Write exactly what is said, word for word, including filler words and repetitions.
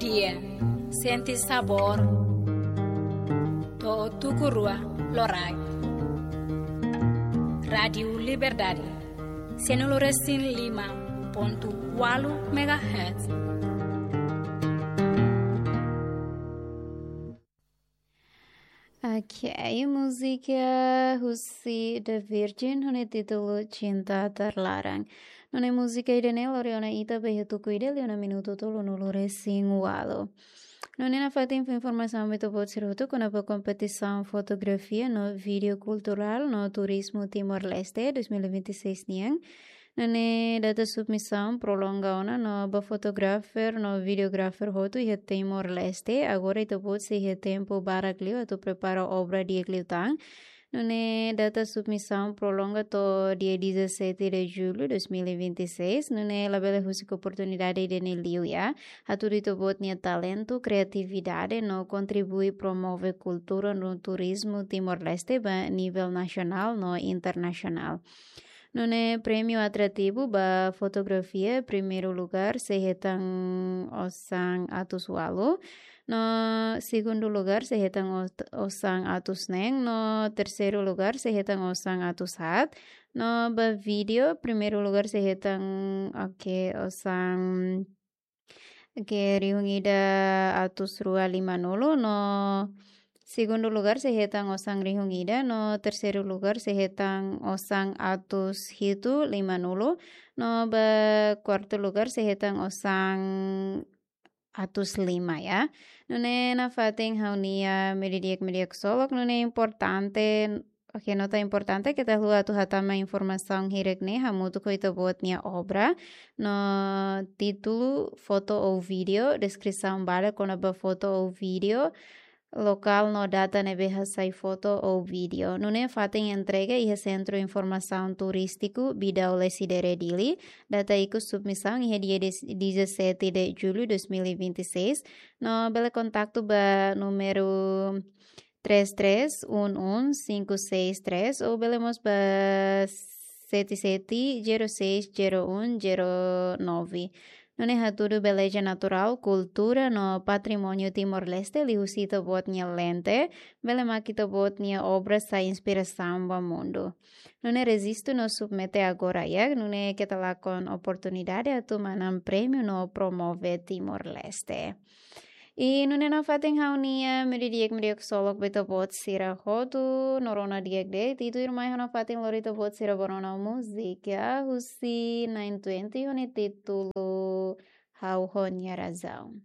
Dia, sente sabór. To'o tuku rua loraik. Rádiu Liberdade, sianulu resin lima pontu ualu megahertz. Ok, múzika husi The Virgin, ho nia títulu Cinta Terlarang. Nune'e múzika ida-ne'e lori ona ita ba iha tuku ida liu ona minutu tolunulu resin ualu. Nune'e nafatin informasaun ba ita-boot sira hotu kona-ba kompetisaun fotografia no vídeo kulturál no turizmu Timor-Leste dois mil e vinte e seis nian. Nune'e data submisaun prolonga ona no ba fotografer no videografer hotu iha Timor-Leste. Agora ita-boot sei iha tempu barak liu atu prepara obra di'ak liután. Nune'e data submisaun prolonga to'o dia dezassete de julho dois mil e vinte e seis. Nune'e labele husik oportunidade ida-ne'e liu ya. Hatudu ita-boot nia talentu, kriatividade no kontribui promove kultura no turizmu Timor-Leste ba nivel nasionál no internasionál. Nune'e prémiu atrativu ba fotografia, primeiru lugar sei hetan osan atus ualu. No segundu lugar sei hetan ot-, osan atus neen. No terseiru lugar sei hetan osan atus haat. No ba vídeo, primeiru lugar sei hetan, ok, osan, ok, rihun ida atus rua limanulu. No segundu lugar sei hetan osan rihun ida. No terseiru lugar sei hetan osan atus hitu limanulu. No ba kuartu lugar sei hetan osan atus lima ya. Nune'e nafatin ha'u-nia média di'ak, média ksolok, nune'e importante, ok, nota importante keta haluha atu hatama informasaun hirak-ne'e hamutuk ho ita-boot nia obra no títulu, foto ou vídeo, deskrisaun badak kona-ba foto ou vídeo, lokál no data ne'ebé hasai foto ou vídeo. Nune'e fatin entrega iha Sentru Informasaun Turístiku Bidau Lecidere Dili. Data ikus submisaun iha dia des-, dezassete de julho dois mil e vinte e seis. No bele kontaktu ba númeru três três um um cinco seis três ou bele mós ba sete sete zero seis zero um zero nove. Nune'e hatudu beleza naturál, kultura no patrimóniu Timor-Leste liuhusi ita-boot nia lente, bele mak ita-boot nia obra sai inspirasaun ba mundu. Nune'e rejistu no submete agora ya, nune'e keta lakon oportunidade atu manán prémiu no promove Timor-Leste. I nune'e nafatin ha'u-nia média di'ak, média ksolok ba ita-boot sira hotu, no rona di'ak de'it, i tuirmai ha'u nafatin lori ita-boot sira ba rona múzika husi Nine Twenty ho nia títulu Ha'u ho Nia Razaun.